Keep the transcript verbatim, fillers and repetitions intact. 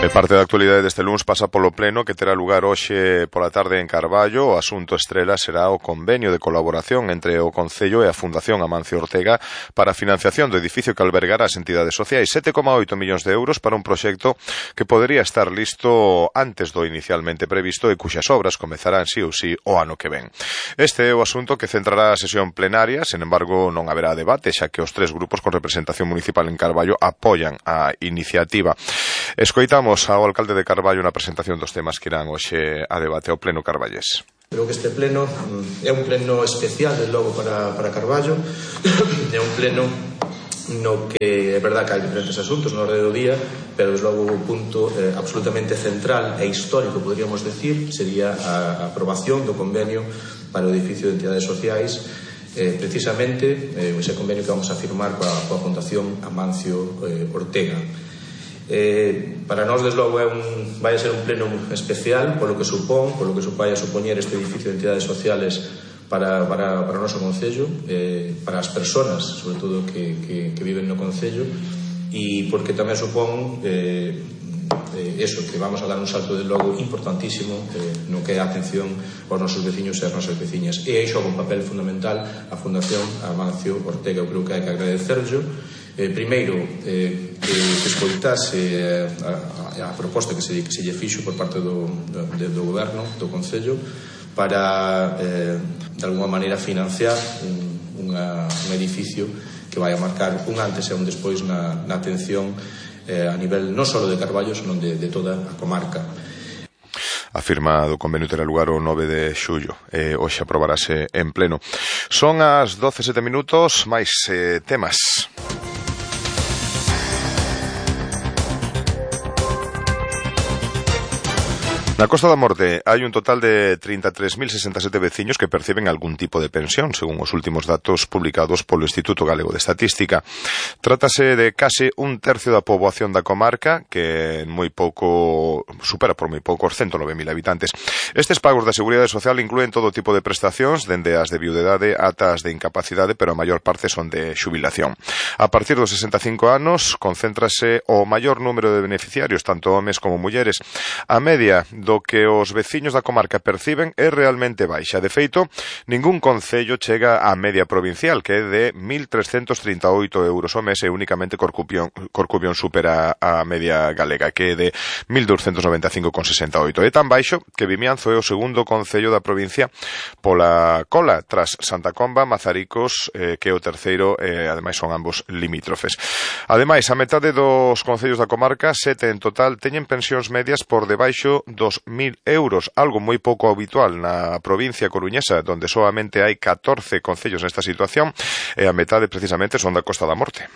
E parte da actualidade deste luns pasa polo pleno que terá lugar hoxe pola tarde en Carballo. O asunto estrela será o convenio de colaboración entre o Concello e a Fundación Amancio Ortega para a financiación do edificio que albergará as entidades sociais, sete coma oito millóns de euros para un proxecto que podería estar listo antes do inicialmente previsto e cuxas obras comezarán sí ou sí o ano que ven. Este é o asunto que centrará a sesión plenaria, sen embargo non haberá debate, xa que os tres grupos con representación municipal en Carballo apoian a iniciativa. Escoitamos ao alcalde de Carballo na presentación dos temas que irán hoxe a debate ao pleno carballés. Creo que este pleno é un pleno especial, de logo, para, para Carballo. É un pleno no que é verdad que hai diferentes asuntos no orde do día, pero desde logo o punto eh, absolutamente central e histórico, podríamos decir, sería a aprobación do convenio para o edificio de entidades sociais, eh, precisamente eh, ese convenio que vamos a firmar coa, coa Fundación Amancio eh, Ortega. Eh, para nós, desde logo, é un, vai a ser un pleno especial polo que supón, polo que vai a supoñer este edificio de entidades sociales para, para, para o noso Concello, eh, para as persoas, sobre todo, que, que, que viven no Concello, e porque tamén supón eh, eh, eso, que vamos a dar un salto, de logo, importantísimo eh, no que é a atención aos nosos veciños e as nosas veciñas. E aí xoga un papel fundamental a Fundación Amancio Ortega. Eu creo que hai que agradecerlo. Eh, primeiro, eh, que, que escoitase eh, a, a proposta que se, que se lle fixo por parte do, do, do goberno, do Concello, para, eh, de alguma maneira, financiar un, unha, un edificio que vai a marcar un antes e un despois na, na atención eh, a nivel non só de Carballo, senón de, de toda a comarca. A firma do convenio terá lugar o nove de xullo e hoxe aprobarase en pleno. Son as doce e sete minutos, máis eh, temas. Na Costa da Morte hai un total de trinta e tres mil sesenta e sete veciños que perciben algún tipo de pensión, según os últimos datos publicados polo Instituto Galego de Estatística. Trátase de case un tercio da poboación da comarca, que moi pouco supera por moi pouco os ciento nove mil habitantes. Estes pagos da Seguridade Social incluen todo tipo de prestacións, dende as de viudedade ata as de incapacidade, pero a maior parte son de xubilación. A partir dos sesenta e cinco anos, concéntrase o maior número de beneficiarios, tanto homes como mulleres. A media do que os veciños da comarca perciben é realmente baixa. De feito, ningún concello chega á media provincial, que é de mil trescentos trinta e oito euros ao mes, e únicamente Corcubión, Corcubión supera a media galega, que é de mil doscientos noventa e cinco con sesenta e oito. É tan baixo que Vimianzo é o segundo concello da provincia pola cola, tras Santa Comba, Mazaricos, eh, que é o terceiro, e eh, ademais son ambos limítrofes. Ademais, a metade dos concellos da comarca, sete en total, teñen pensións medias por debaixo dos mil euros, algo moi pouco habitual na provincia coruñesa, donde solamente hai catorce concellos nesta situación, e a metade precisamente son da Costa da Morte.